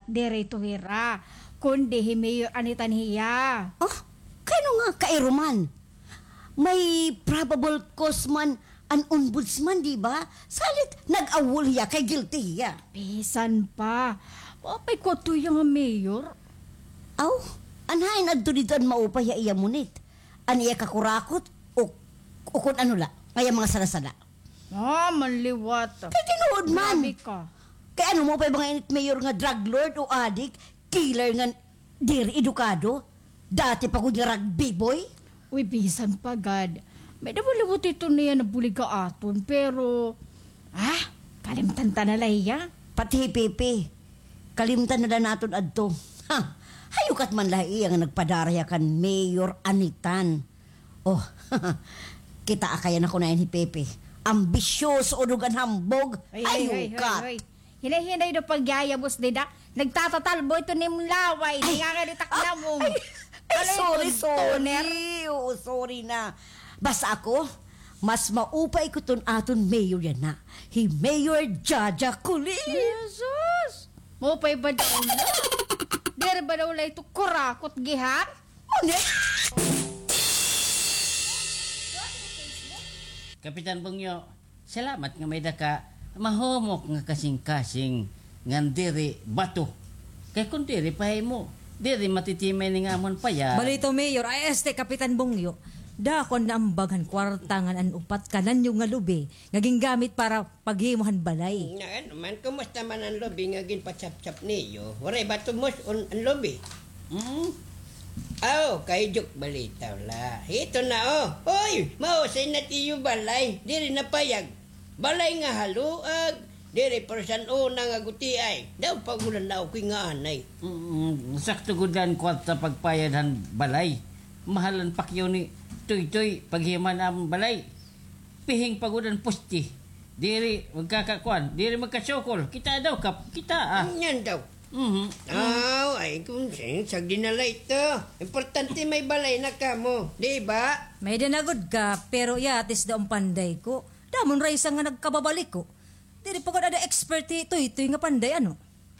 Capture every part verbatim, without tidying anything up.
diri ito hira, kundi hi Mayor Anitan hiya. Oh, kay ano nga kairuman? May probable cause man an ombudsman, di ba? Salit nag-awol hiya kay guilty hiya. Bisan pa. Maupay kuno hiya nga mayor. Aw, an hain adto didto an maupay ha iya munit? An iya kakurakot o, o kon ano la, nga iya mga sala-sala? Ah, manliwat. Kay tinuod man. Grabe ka. Kay ano, maupay ba nga ini it mayor nga drug lord o adik, killer nga diri edukado? Dati pa gud nga rugby boy? Uy, bisan pa gad. May-ada man liwat ito niya nabulig ha aton, pero, ah, kalimtan ta na la hiya. Pati hi Pepe. Kalimtan na la naton adto. Ha! Hayukat man la hiya nga nagpadara hiya kan Mayor Anitan. Oh, kitaa kay an ako na ini hi Pepe. Ambisyoso, unog an hambog. Hoy, hoy, hoy, hoy, hoy. Hinay-hinay daw pagyayabos dida. Nagtatatalbo ito nim laway. Ay. Nangangalitak na mo. Ay, ay, sorry, sorry. Oo, sorry na. Basta ako, mas maupay ko ton aton mayor yana. Hi Mayor Jaja Colin. Jesus! Maupay ba daw la? Diri ba daw la ito kurakot gihap? Ano? Kapitan Bungyo, salamat nga may-ada ka mahumok nga kasingkasing ngan diri bato. Kay kon diri pa imo, diri matitimay ini nga amon payag. Balito, Mayor, ay, este, Kapitan Bungyo, dako an naambag han kwarta ngan an upat ka nanyog nga lubi nga gingamit para paghimo han balay. Nga ano man, kumusta man an lubi nga ginpatsaptsap niyo? Waray ba tumus-on an lubi? Hmm? Aw, kay joke balitaw la. Ito na, oh. Hoy, mahusay na it iyo balay. Diri na payag. Balay nga haluag. Diri, pero san-o na nga gutiay. Daw pagulanao ko nga anay. Mm, sakto gud an kwarta pagpayad han balay. Mahal an pakyaw ni Toytoy paghimo han amon balay. Pihing pa gud an poste. Diri magkakakuan, diri magkasukol. Kita daw, Kap, kita, ah. Ngan daw. Mhm. Aw, ay, kon sin-, sagdi na la ito. Importante may balay na kamo, di ba? May-ada na gud, Kap, pero yatis daw an panday ko. Damo na rason nga nagkababalik ko. Diri pa gud ada expert hi Toytoy nga panday, ano?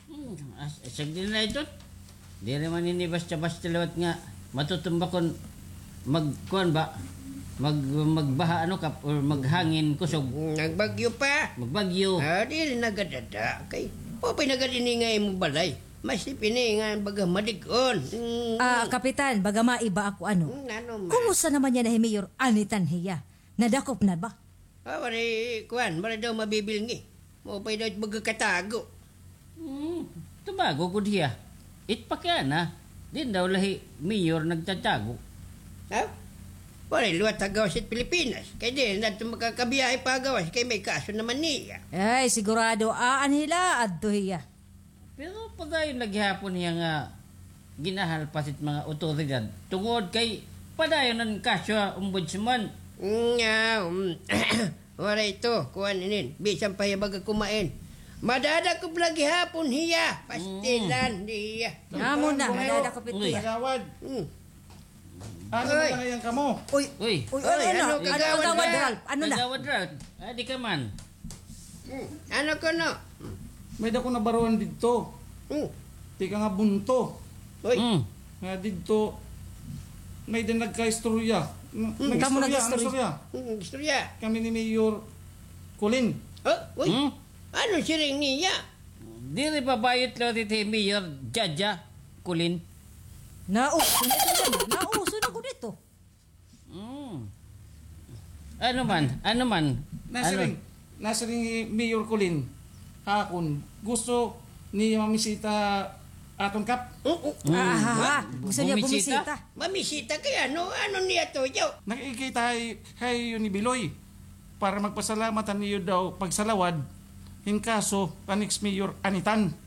Hmm, as-, sagdi na la ito. Diri man ini basta-basta liwat nga matutumba kon magkuan ba? Mag-, magbaha ano, Kap, or maghangin kusog. Nagbagyo pa. Magbagyo. Ah, diri na gad ada. Kay, maupay na gad ini nga imo balay. Mas ini nga baga madig-on. Mm. Ah, Kapitan, baga maiba ako, ano? Mm, ano man? Kumusta naman yana hi Mayor Anitan hiya? Nadakop na ba? Ah, waray, kuan, waray daw mabibilngi. Maupay daw it baga katago. Hmm, tumago gud hiya. It pakiana, din daw la hi Mayor nagtatago. Ha? Waray liwat ha gawas it Pilipinas. Kay diri na adto makakabiyahe pa ha gawas, kay may kaso naman niya. Ay, sigurado, aan hila, adto hiya. Pero padayon la gihapon hiya nga ginahalpas it mga awtoridad tungod kay padayon an kaso ha ombudsman. Nga, um, waray ito, kuan inin, bisan pa hiya baga kumain. Madadakop la gihapon hiya, pastilan, hiya. Amo na, madadakop ito hiya. Kagawad. Hmm. Ano na ngay-an kamo? Uy, uy, ano, ano, ano, Kagawad Ralph? Ano na? Kagawad Ralph, adi ka man. Hmm, ano kuno? May-ada ko nabaruan didto. Hmm. Tikang ha Bunto. Uy. Hmm. Nga didto, may-ada nagkaistorya. Hmm. Kamo nag-istorya? Ano istorya? Hmm, istorya. Kami ni Mayor Colin. Oh, uy. Hmm? Ano siring niya? Diri pa bayot liwat hi Mayor Jaja Colin. Nauso na ito. Nauso na gud ito. Mm. Ano man? Ano man? Nasiring, nasiring hi Mayor Colin ha akon, gusto niya mamisita aton, Kap. Oo. Mm. Ah, ha, ha. Gusto niya bumisita. Bumisita? Mamisita kay ano, ano niya to, yo? Nakikita hay, hay yun ni Biloy para magpasalamat han iyo daw pagsalawad hin kaso kan ex-mayor Anitan.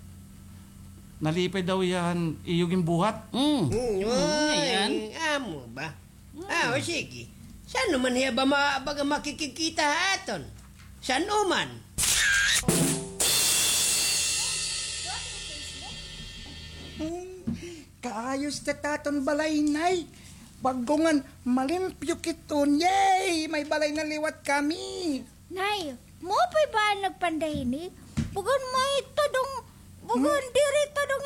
Nalipay daw hiya han iyo ginbuhat. Mm. Mm, mm, oy, ayan. Amo ba? Mm. Ah, o sige. San-o man hiya ba ma-, baga makikikita ha aton? San-o man? Hmm, kaayos ta it aton balay, Nay. Bag-o ngan malimpyo kit-on. Yay! May balay na liwat kami. Nay, maupay ba an nagpanday hini? Bagan may tadong, bagan diri tadong